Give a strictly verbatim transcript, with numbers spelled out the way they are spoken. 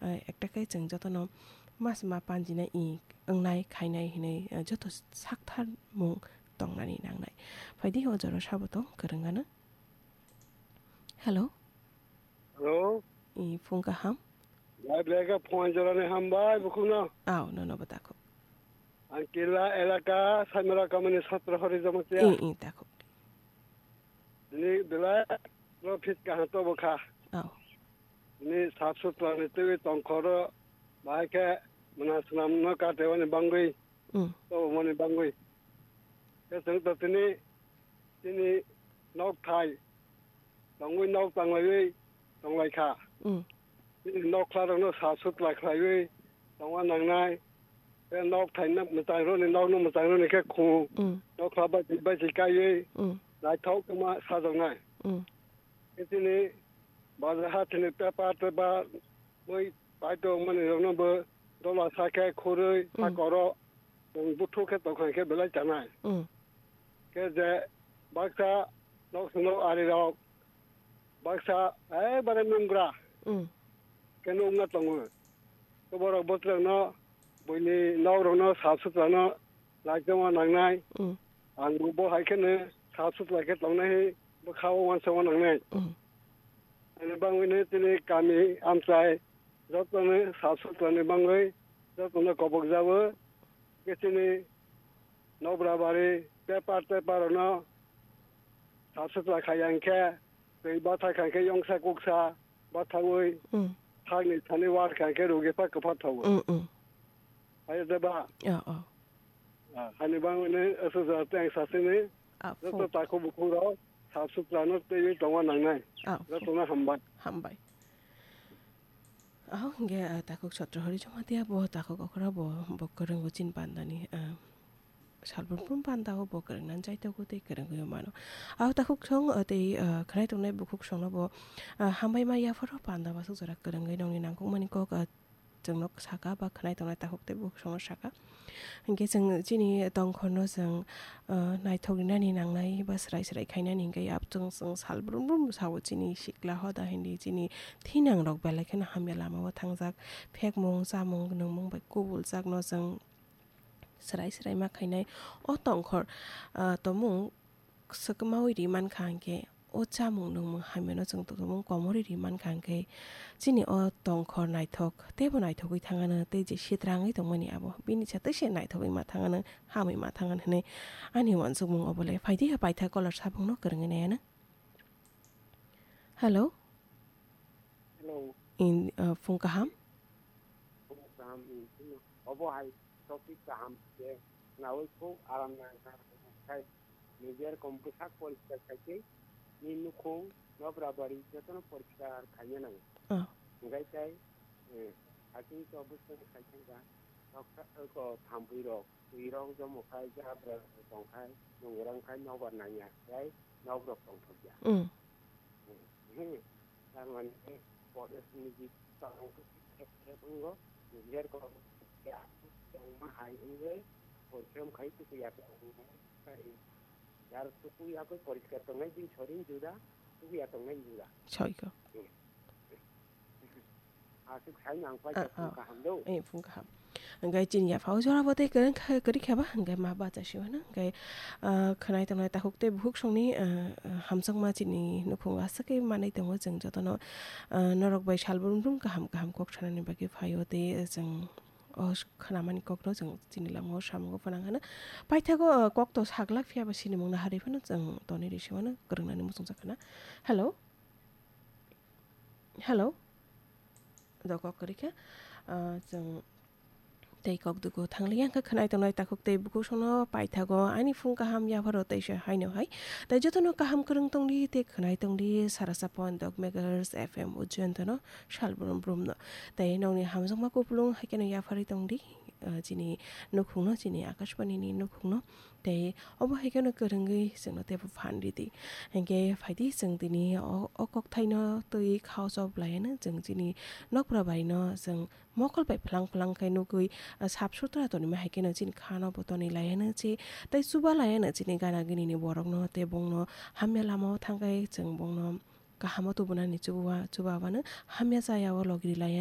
Ah, ekta khe chwng jotono mas ma panjinai i wngnai khainai hinwi, ah, joto sakthar mung tongnani nangnai. Phaidi o jora sabo tong kwrwng ano. Hello. Hello. I phung kaham. Bai belai khe phung jorani hambai bukhukno. Aw, nono bo takhuk. Ang Killa elaka Saimara kamani Satro Hori Jamatia. I, i, takhuk. Ni belai no fit kaham to bokha. Aw. Ni sap sutra ni twi tongkhoro bahai khe mwnasnam no katewani bangwi. Mm. To mani bangwi. Khe chwng to tini, tini nok thai tongwi nok tanglaiwi tonglaikha. Mm. Nokla rokno sal sutla khlaiwi tongma nangnai. Tei nok thaina mwchang rokni nokno mwchang rokni khe khung. Mm. Nokla bai twi bai twi kaiwi Mm. naithok wngma sajoknai. Mm. Tei chini bazar hathini paper tei ba mui paito mani rokno bo dola sa khe khurui Mm. sakoro chwng buthuk khe tongkha khe belai chanai. Mm. Khe je baksa nok swngo ari rok baksa ebare nungra Mm. khe nungna tongo. Khe borok bwtwrangno buini nok rokno sal sutrano naitongma nangnai. Mm. Ang bo hai kheno sal sutra khe tongnai bwkha o uansukma nangnai. Mm. Ani bangwino chini kami amchai jotono sal sutrani bangwi jotono kobok jabo. Khe chini nobra bari paper teper rokno sal sutra khai ang khe twi bathai khai khe yongsa kuksa bathaui Mm. thangni thani war khai khe rugi pha kwpha thago. Mm, mm. Hai de ba? Oh, oh. Ah, hani bangwino aswk jora tei ang sasini Ah, joto phung. Takhuk bukhuk rok sap sutra no twiwi tongma nangnai. Ah, phung. Jotono hambai. Hambai. Aho hingke, ah, takhuk Satro Hori Jamatia bo takhuk okra bo, bo kwrwngwi chin pandani, ah, salbrum brum panda o bo kwrwngna jaitogo tei kwrwngwi mano. Aho takhuk song, ah, tei, ah, khwnai tongnai bukhuk songno bo, ah, hambai ma yapharo panda basuk jora kwrwngwi nongni nangkukmani kok, ah, chwngno saka ba khwnai tongnai takhuk tei bukhuk songno saka. Hinkhe chwng chini tongkhorno chwng, ah, naithok rinani nangnai ba swrai swrai khainani hinkhe ap chwng chwng sal brum brum sao chini sikla hoda hindi chini thinang rok belai kheno hamya lama o thangjak. Phekmung, chamung, nungmung bai kubuljak no chwng swrai swrai ma khainai. O tongkhor, ah, tomung swkmaui ri mankha hinkhe, o chamung nungmung hamyano chwng tongmung komorwi ri mankha hinkhe, chini o tongkhor naithok teibo naithogwi thangano tei je sitrangwi tongmani abo bini sa tei se naithogwi ma thangano, hamwi ma thangano hinwi ani uansukmung obo le. Phaidi ha paitha caller sabungno kwrwngwi naianw. Hello. Hello. In, uh, phung kaham. Phung kaham, in, in, obo hai topic kaham se nawi khub aram nang kha. Nijer kom bwsak poriskar khai khe ni nukhung nobra bari jotono poriskar khaina nango. Oh. Hinkhe tai, eh, hakhe to bwswk khai thangkha, noksa, ko thampui rok, twi rok jomo khai, jabra tong khai, nungwrang khai, nobar nangya, tei nok rok tongthokya. Mm. Hmm, hmm. Tar mane, Forest ni tong thep thep wngo, jer ko ya tongma hai wngwi, porikhe khai tuku ya tong khai, jar tuku ya koi poriskar tongnai din sorin juda, tuku ya tongnai juda. Soi ko. Hmm. Aswk sai nang pai Ah, ta phung ah. Kaham do. Eh, phung kaham. Hingke chini yaphao jora bo tei kwrwng kha, kwrwi kha ba, hingke ma bacha sio hino. Hingke, ah, khwnai tongnai takhuk tei bukhuk songni, ah, ah, hamjakma chini nukhung aswk khe manwi tongo chwng jotono, ah, norok bai sal brum brum kaham kaham kok sanani bagwi phaio tei chwng o khnamani kokno chwng chini lamao samungo phwnang hino. Paithago, ah, kokto saglak phiya ba sinimungno harwi phano chwng tonwi rw se mano, kwrwngnani muchungjak khna. Hello? Hello? Do kok kwrwi kha, ah, chwng tei kok dugo thangli yang kha khwnai tongnai takhuk tei bukhuk songno paithago ani phung kaham yapharo teisa haino hai. Tei jotono kaham kwrwng tongdi tei khwnai tongdi sara sapon dog megahertz F M Ujjainto no sal brum brum no. Tei nongni hamjakma kupulung hai kheno yapharwi tongdi, ah, chini nukhungno, chini Akashbani ni nukhungno. Tei obo hai kheno kwrwngwi chwngno teibo phan ridi. Hinkhe phaidi chwng tini o, o kokthaino twi khao chop laiano chwng chini nokpra baino chwng mokol bai phlang phlang khe nugwi, ah, sap sutra tonima hai kheno chini khano bo tonwi laiano che tei chuba laiano chini gana gini ni borokno tei bongno hamya lamao thangkhai chwng bongno kahamo tubunani chuba, chuba wano hamya chaya o logi ri laiano.